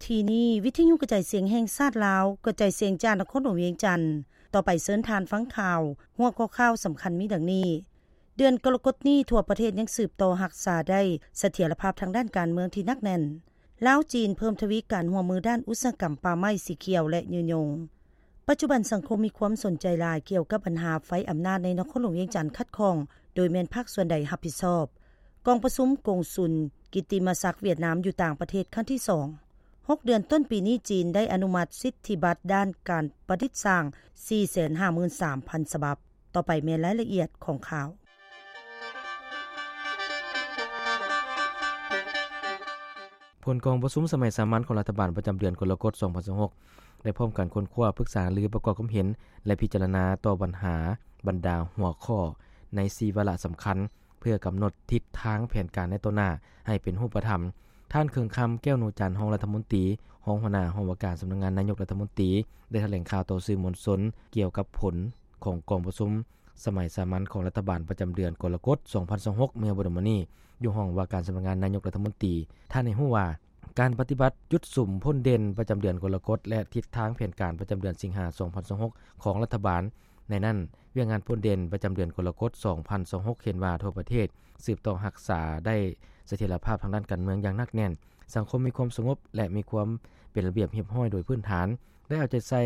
ທີ່ນີ້ ວິທຍຸກະຈາຍສຽງແຫ່ງຊາດລາວ ກະຈາຍສຽງຈາກນະຄອນຫຼວງວຽງຈັນ. ຕໍ່ໄປເຊີນທ່ານຟັງຂ່າວ. ຫົວຂໍ້ຂ່າວສຳຄັນມີດັ່ງນີ້: ເດືອນກໍລະກົດນີ້ ທົ່ວປະເທດຍັງສືບຕໍ່ຮັກສາໄດ້ສະຖຽນລະພາບທາງດ້ານການເມືອງທີ່ໜັກແໜ້ນ. ລາວ-ຈີນ ເພີ່ມທະວີການຮ່ວມມືດ້ານອຸດສາຫະກຳປ່າໄມ້, ສີຂຽວ ແລະ ຍືນຍົງ. ປັດຈຸບັນສັງຄົມມີຄວາມສົນໃຈຫຼາຍກ່ຽວກັບບັນຫາໄຟອຳນາດໃນນະຄອນຫຼວງວຽງຈັນຂັດຂ້ອງ, ໂດຍແມ່ນພາກສ່ວນໃດຮັບຜິດຊອບ? ກອງປະຊຸມກົງສຸນກິດຕິມະສັກຫວຽດນາມຢູ່ຕ່າງປະເທດຄັ້ງທີສອງ. ຫົກເດືອນຕົ້ນປີນີ້ ຈີນໄດ້ອະນຸມັດສິດທິບັດດ້ານການປະດິດສ້າງ ສີ່ແສນຫ້າໝື່ນສາມພັນ ສະບັບ. ຕໍ່ໄປແມ່ນລາຍລະອຽດຂອງຂ່າວ. ຜົນກອງປະຊຸມສະໄໝສາມັນຂອງລັດຖະບານປະຈຳເດືອນກໍລະກົດ ສອງພັນຊາວຫົກ ໄດ້ພ້ອມກັນຄົ້ນຄວ້າ, ປຶກສາຫາລື, ປະກອບຄວາມເຫັນ ແລະ ພິຈາລະນາຕໍ່ບັນຫາບັນດາຫົວຂໍ້ໃນສີ່ວາລະສຳຄັນ ເພື່ອກຳນົດທິດທາງແຜນການໃນຕໍ່ໜ້າໃຫ້ເປັນຮູບປະທຳ. ທ່ານ ເຄືອງຄຳ ແກ້ວໂນຈັນ ຮອງລັດຖະມົນຕີ, ຮອງຫົວໜ້າຫ້ອງວ່າການສຳນັກງານນາຍົກລັດຖະມົນຕີ ໄດ້ຖະແຫຼງຂ່າວຕໍ່ສື່ມວນຊົນກ່ຽວກັບຜົນຂອງກອງປະຊຸມສະໄໝສາມັນຂອງລັດຖະບານປະຈຳເດືອນກໍລະກົດ ສອງພັນຊາວຫົກ ເມື່ອບໍ່ດົນມານີ້ ຢູ່ຫ້ອງວ່າການສຳນັກງານນາຍົກລັດຖະມົນຕີ. ທ່ານໃຫ້ຮູ້ວ່າ ການປະຕິບັດຈຸດສຸມພົ້ນເດັ່ນປະຈຳເດືອນກໍລະກົດ ແລະ ທິດທາງແຜນການປະຈຳເດືອນສິງຫາ ສອງພັນຊາວຫົກ ຂອງລັດຖະບານ. ໃນນັ້ນ, ວຽກງານພົ້ນເດັ່ນປະຈຳເດືອນກໍລະກົດ ສອງພັນຊາວຫົກ ເຫັນວ່າທົ່ວປະເທດສືບຕໍ່ຮັກສາໄດ້ສະຖຽນລະພາບທາງດ້ານການເມືອງຢ່າງໜັກແໜ້ນ, ສັງຄົມມີຄວາມສະຫງົບ ແລະ ມີຄວາມເປັນລະບຽບຮຽບຮ້ອຍໂດຍພື້ນຖານ, ໄດ້ເອົາໃຈໃສ່